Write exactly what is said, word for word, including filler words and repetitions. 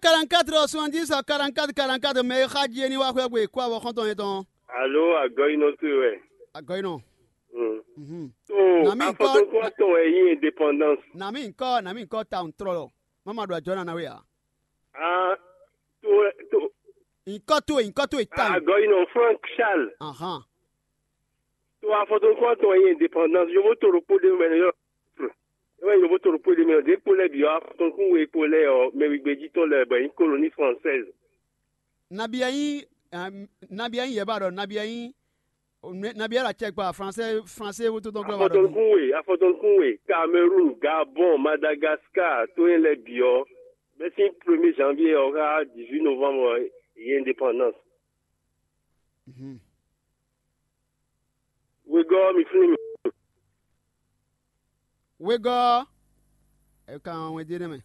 Quarante-quatre soixante-dix à quarante-quatre quarante-quatre, mɛ e xa jí é ní wá xwé gbe kó avɔ xɔ́ntɔn yɛn tɔn. Alo, agɔyinɔ towe wɛ. Agɔyinɔ. Mm. Mhm. To Nami nkɔ- afɔtɔnkɔ tɔn wɛ yí indépendance. Nami nkɔ, nami nkɔ ta ntɔlɔ. Mama ɖo ajɔ nana we a? Ah, to to Nkɔ towe, nkɔ towe ta. Agɔyinɔ Frank Charles. Ahan. To afɔtɔnkɔ tɔn wɛ yí indépendance. Yovo to ɖokpó ɖé mɛ yɔ. Ewé yovo to ɖokpó ɖé mɛ ɔ, ɖě kpo lɛ́ɛ bǐ ɔ́, afɔtɔnkún we kpo lɛ́ɛ ɔ́, mɛ wigbe jí tɔn lɛ́ɛ bɔ é nyí koloni française. Nabi ɛ nyí nabi ɛ nyí yɛba ɖɔ nabi ɛ nyí nabi ɛ ɖo acɛ gba français français wótó tɔn glɔ́ wa ɖɔ. Afɔtɔnkún we, afɔtɔnkún we, Cameroun, Gabon, Madagascar, tó nyɛ lɛ́ɛ bǐ ɔ́, bɛ́sín premier janvier ɔ́ xá dix-huit novembre ɔ́, yě indépendance. Wegɔ́ ɔ́, mi flín mì. Wegɔ́ ɔ́, è ka wɛn dó nɛ́ mɛ.